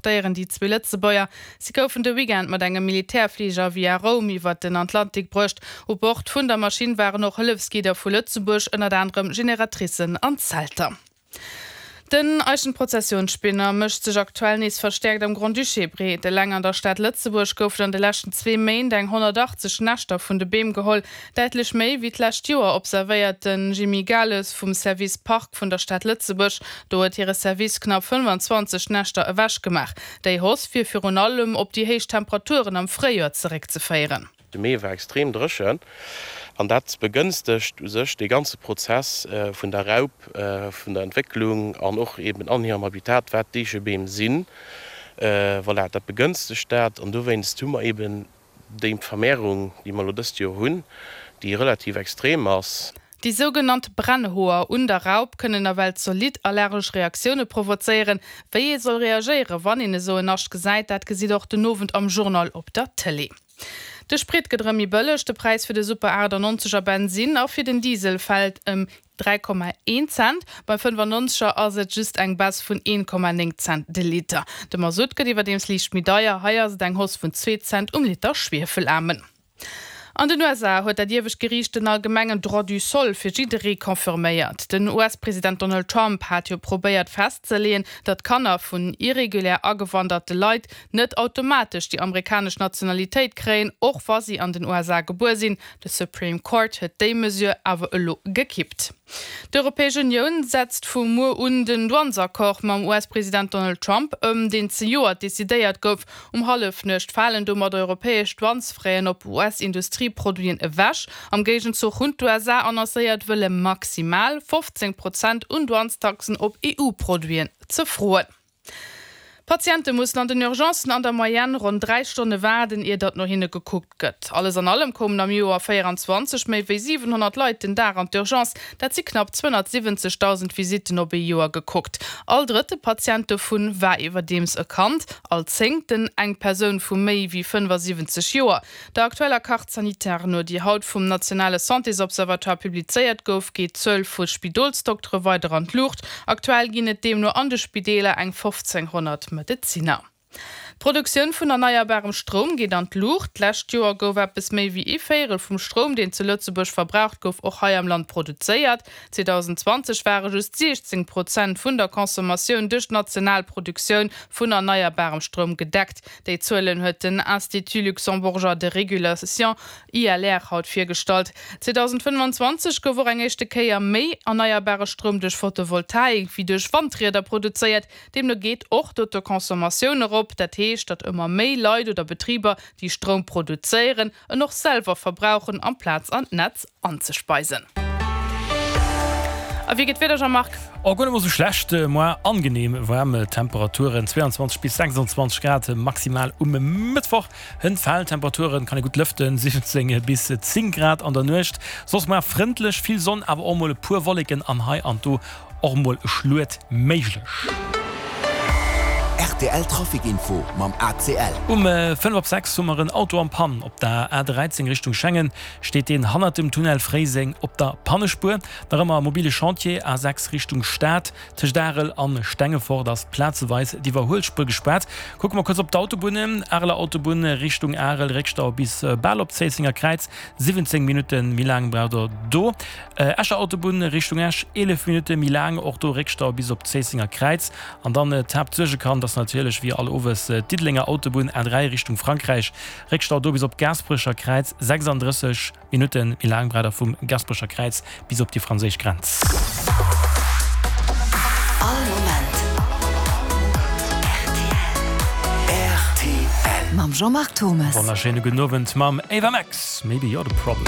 Déieren déi zwee Lëtzebuerger. Si goufen de Weekend mat engem Militärfliger via Roum iwwert den Atlantik bruecht. U Bord vun der Maschinn waren och Hëllefsgidder vu Lëtzebuerg, ënnert anerem Generatricen an Zelter. Den Eichenprozessionsspinner mécht sech aktuell nees verstäerkt am Grand-Duché breet. Eleng an der Stad Lëtzebuerg goufen an de leschten zwee Méint eng 180 Näschter vun de Beem geholl. Däitlech méi wéi d'lescht Joer, observéiert de Jimmy Gales vum Service Parc vun der Stad Lëtzebuerg. Do huet hire Service knapp 25 Näschter ewech gemaach. Déi Hausse wier virun allem op déi héich Temperaturen am Fréijoer zeréckzeféieren. De Mee war extrem dréchen an dat begënstegt u sech dee ganze Prozess vun der Raup, vun der Entwécklung an och eben an hirem Habitat, wat d'Eechebeem sinn. Voilà, dat begënstegt dat an dowéinst hu mer eben Déi Vermehrung, déi mer elo dëst Joer hunn, déi relativ extrem ass. Déi sougenannt Brennhoer un der Raup kënnen nawell zolidd allergesch Reaktioune provozéieren. Wéi ee soll reagéieren, wann een esou en Nascht gesäit, dat gesitt och den Owend am Journal op der Tëlee. De Sprit gëtt erëm méi bëlleg, de Präis fir de Super 98 a Bensinn a fir den Diesel fält ëm 3,1 Cent, beim 95 er ass et just eng Baisse vun 1,9 Cent de Liter. De Masutt gëtt iwwerdeems liicht méi deier, hei ass et eng Hausse vun zwee Cent um Liter Schwiefelaarmen. An den USA huet dat iewescht Geriicht den allgemengen Droit du sol fir jidderee confirméiert. Den US-President Donald Trump hat jo probéiert festzeleeën, datt Kanner vun irregulär agewanderte Leit net automatesch déi amerikanesch Nationalitéit kréien, och wa si an den USA gebuer sinn. De Supreme Court huet déi Mesure awer elo gekippt. D'Europäesch Unioun setzt vu muer un den Douanesaccord mam US-President Donald Trump ëm, deen zejoert decidéiert gouf. Um Hallefnuecht falen domat europäesch Douanesfraisen op US-Industrieproduiten ewech. Am Géigenzuch hunn d'USA annoncéiert, wëlle maximal 15 Prozent un Douanestaxen op EU-Produiten ze froen. Patiente mussen an den Urgencen an der Moyenne ronn 3 Stonne waarden, ier datt no hinne gekuckt gëtt. Alles an allem koumen am Joer 24 méi wéi 700 Leit den Dag an d'Urgence, dat si knapp 270.000 Visitten op ee Joer gekuckt. All drëtte Patient dovun war iwwerdeems e Kand, all zéngten eng Persoun vu méi wéi 75 Joer. Der aktueller Carte sanitaire no, déi haut vum nationale Santésobservatoire publizéiert gouf, geet d'Zuel vu Spidolsdoktere weider an d'Luucht. Aktuell ginn et deemno an de Spideeler eng 1.500 Medezinner. D'Produktioun vun erneierbarem Stroum geet an d'Luucht. D'lescht Joer gouf eppes méi wéi ee Véierel vum Stroum, deen zu Lëtzebuerg verbraucht gouf, och hei am Land produzéiert. 2020 ware just 16 Prozent vun der Consommatioun duerch d'national Produktioun vun erneierbarem Stroum gedeckt. Déi Zuelen huet den Institut luxembourgeois de régulation, ILR, haut virgestallt. 2025 gouf och eng éischte Kéier méi erneierbare Stroum duerch Photovoltaik wéi duerch Wandrieder produzéiert. Deemno geet och d'Autoconsommatioun erop. Dat heescht, datt ëmmer méi Leit oder Betriber, déi Stroum produzéieren, en och selwer verbrauchen amplaz an d'Netz anzespeisen. A wéi geet d'Wieder, Jean-Marc? Oh, guer net mol sou schlecht. Moar angenehm waarm Temperaturen, 22 bis 26 Grad maximal um Mëttwoch. Hënt falen d'Temperaturen, kann ee gutt lëften, 17 bis 10 Grad an der Nuecht. Soss moar frëndlech, vill Sonn, awer och mol e puer Wolleken an hei an do Och mol e Schluet méiglech. Rtl Trafic Info mam ACL. Um 5 op 6 hu mer en Auto en Panne op der A13 Richtung Schengen. Steet deen hannert dem Tunnel Fréiseng op der Pannespuer. Nach ëmmer mobile Chantier A6 Richtung Stad. Tëscht Arel an Stengefort ass plazeweis d'Iwwerhuelspuer gespaart. Kucke mer kuerz op d'Autobunnen. Areler Autobunn Richtung Arel, Réckstau bis bal op d'Zéissenger Kräiz, 17 Minutten. Méi laang braucht der do. Escher Autobunn Richtung Esch, 11 Minutte méi laang, och do Réckstau bis op d'Zéissenger Kräiz. An dann d'Haaptsuergekand ass natierlech wéi all Owes d'Diddelenger Autobunn A3 Richtung Frankräich, Réckstau do bis op d'Gaasperecher Kräiz, 36 Minutte méi laang braucht der vum Gaasperecher Kräiz bis op déi franséisch Grenz. All Moment rtl. Mam Jean-Marc Thomes. Wonnerschéine gudden Owend mam Ava Max, Maybe You're the Problem.